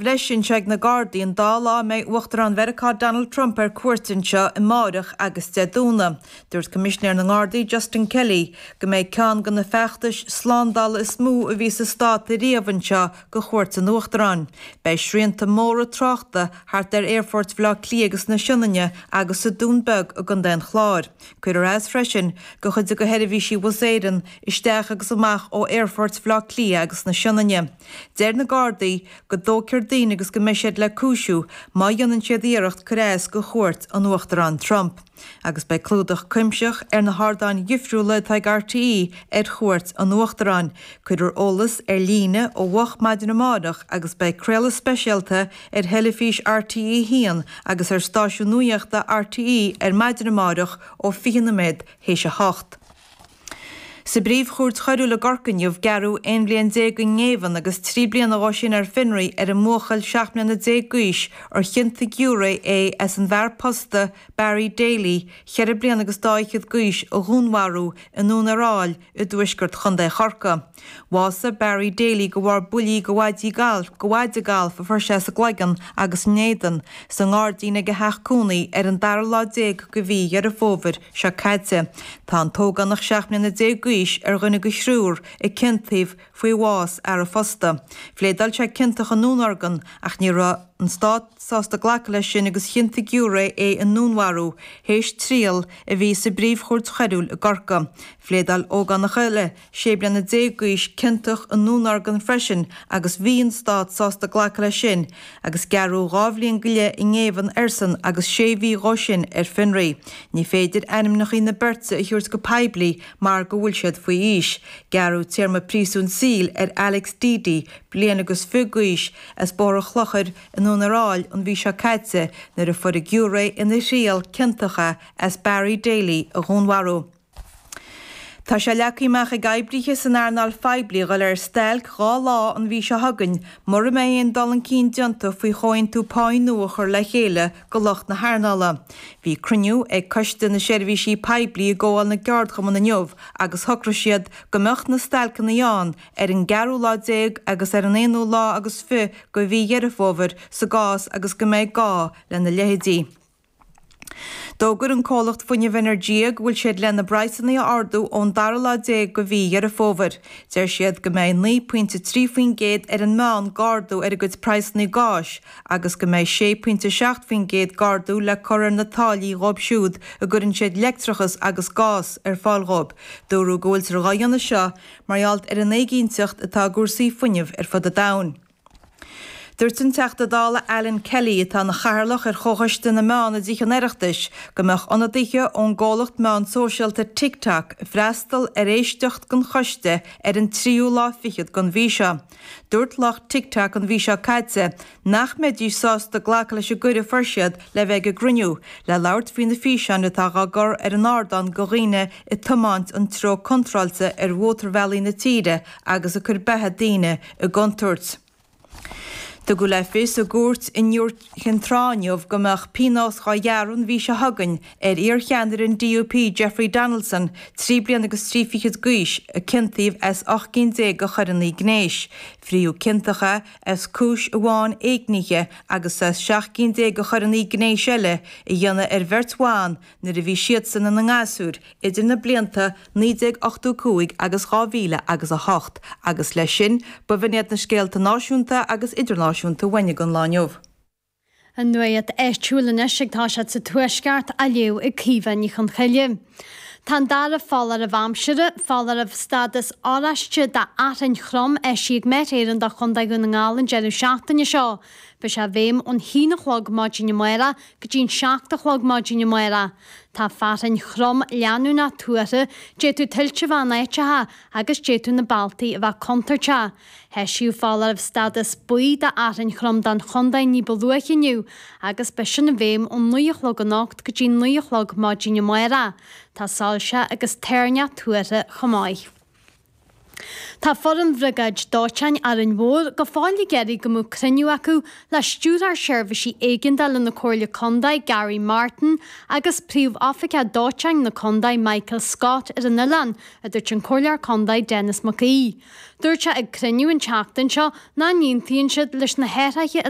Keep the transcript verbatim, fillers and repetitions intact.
bhreise anseo ag na Gardaí an dá lá a mbeidh Uachtarán Mheiriceá Donald Trump ar cuairt anseo amárach agus Dé Domhnaigh. Dúirt Coimisinéir na nGardaí Justin Kelly go mbeidh ceann de na feachtais slándála is mó a bhí sa stát riamh anseo go chuairt an Uachtaráin. Beidh srianta móra tráchta thart ar aerfort Bhaile Átha Cliath agus na Sionainne agus sa Dún Beag i gContae an Chláir. Cuirfear as freisin go chuid de sheirbhísí Bhus Éireann isteach agus amach ó aerfort Bhaile Átha Cliath agus na Sionainne. Deir na Gardaí go dtógfar daoine agus go mbeidh siad le cúisiú má dhéanann siad iarracht cur as go chuairt an Uachtaráin Trump. Agus beidh clúdach cuimsitheach ar na hardáin dhifriúla atá ag RTÉ ar chuairt an Uachtaráin. Cuirfear eolas ar líne ó mhoch maidin amárach agus beidh craoladh speisialta ar theilifís RTÉ haon agus ar stáisiún nuachta RTÉ ar maidin amárach ó fiche nóiméad théis a hocht. Sa bpríomhchúirt choiriúil i gCorcaigh inniu gearradh aon bhliain déag i ngéibheann agus trí bliana dhó sin ar fionraí ar an mbuachaill seacht mbliana déag d'aois ar chiontaigh giúiré é as an bhfear pósta Barry Daly, ceithre bliana agus dá fhichead d'aois a dhúnmharú i nDún ar Aill i dtuaisceart Chontae Chorcaí. Bhásaigh Barry Daly de bharr buillí de mhaidí gailf de mhaide gailf a fuair sé sa gcloigeann agus in éadan sa ngairdín ag a theach cónaí ar an dara lá déag de mhí Dheireadh Fómhair seo caite. Tá an t-ógánach seacht mbliana déag d'aois ar dhuine de thriúr a ciontaíodh faoi bhás fhear a phósta. Phléadáil sé ciontach i ndúnorgain ach ní raibh an stát sásta glacadh leis sin agus chiontaigh giúiré é i ndúnmharú théis triail a bhí sa bpríomhchúirt choiriúil i gCorcaigh. Phléadáil ógánach eile sé bliana déag d'aois ciontach i ndúnorgain freisin agus bhí an stát sásta glacadh leis sin agus gearradh dhá bhliain go leith i ngéibheann airsean agus sé mhí dhó sin ar fionraí. Ní féidir ainmneacha na beirte a thabhairt go poiblí mar go bhfuil siad faoi aois. Gearradh téarma príosúin saoil ar Alex Deedy, bliain agus fiche d'aois as Bóthar an Chlochair i nDún ar Aill an mhí seo caite nuair a fuair giúiré ina thriail ciontach é as Barry Daly a dhúnmharú. Tá sé leagtha amach ag oibrithe san earnáil phoiblí dul ar stailc dhá lá an mhí seo chugainn, mura mbeidh aon dul chun cinn déanta faoi chomhaontú pá nua a chur le chéile go lucht na hearnála. Bhí cruinniú ag Coiste na Seirbhísí Poiblí i gComhdháil na gCeardchumann inniu agus shocraigh siad go mbeadh na stailceanna ann ar an gceathrú lá déag agus ar an aonú lá agus fiche de mhí Dheireadh Fómhair sa gcás agus go mbeidh gá lena leithéidí. D'fhógair an comhlacht fuinnimh Energia go bhfuil siad lena bpraghsanna a ardú ón dara lá déag de mhí Dheireadh Fómhair. Deir siad go mbeidh naoi pointe trí faoin gcéad ar an meán d'ardú ar a gcuid praghsanna gáis agus go mbeidh sé pointe seacht faoin gcéad d'ardú le cur ar na táillí dhóibh siúd a gcuireann siad leictreachas agus gás ar fáil dhóibh. Dúradh go bhfuiltear á dhéanamh seo mar gheall ar an éiginnteacht atá i gcúrsaí fuinnimh ar fud an domhain. Dúirt an Teachta Dála Alan Kelly atá ina chathaoirleach ar Chomhchoiste na Meán i dTithe an Oireachtais go mbeadh ionadaithe ón gcomhlacht meán sóisialta TikTok freastal ar éisteacht den choiste ar an tríú lá fichead den mhí seo. Dúirt lucht TikTok an mhí seo caite nach mbeidís sásta glacadh leis an gcuireadh a fuair siad le bheith ag an gcruinniú, le labhairt faoi na físeáin atá á gcur ar an ardán go dhaoine ag tiomáint an treo contráilte ar mhótarbhealaí na tíre agus ag cur beatha daoine i gcontúirt. Tugadh le fios i gcúirt in Iúr Chinn Trá inniu go mbeadh pionós dhá ghearradh an mhí seo chugainn ar iarcheannaire an DUP Jeffrey Donaldson, trí bliana agus trí fichead d'aois, a ciontaíodh as ocht gcinn déag de choireanna gnéis. Frítheadh ciontach é as cúis amháin éignithe agus as seacht gcinn déag de choireanna gnéis eile a dhéanamh ar bheirt bhan nuair a bhí siadsan ina ngasúir idir na blianta naoi déag ochtó cúig agus dhá mhíle agus a hocht agus leis sin b'in iad na scéalta náisiúnta agus idirnáisiúnta uainn don lá inniu. An nuacht áitiúil anois ag toiseacht sa Tuaisceart á léamh ag Caoimhe Ní Chonchoille. Tá an dara foláireamh aimsire, foláireamh stádas oráiste d'fhearthainn throm eisithe ag Met Éireann do Chontae Dhún na nGall an deireadh seachtaine seo. Beidh sé i bhfeidhm ón haon a chlog maidin amárach go dtí an seacht a chlog maidin amárach. Tá fearthainn throm leanúnach tuartha, d'fhéadfadh tuilte a bheith in áiteacha agus d'fhéadfadh na bealtaí a bheith contúirteach. Eisíodh foláireamh stádas buí d'fhearthainn throm don chontae ní ba luaithe inniu agus beidh sin i bhfeidhm ón naoi a chlog anocht go dtí naoi a chlog maidin amárach. Tá soilse agus toirneach tuartha chomh maith. Tá foireann Bhriogáid Dóiteáin Árainn Mhór go fóill ag iarraidh go mbeadh cruinniú acu le Stiúrthóir Seirbhísí Éigeandála na Comhairle Contae Gary Martin agus Príomh-Oifigeach Dóiteáin na Contae Michael Scott ar an oileán, a dúirt an Comhairleoir Contae Denis Mac Aoidh. Dúirt sé ag cruinniú an tseachtain seo nach n-aontaíonn siad leis na hathruithe a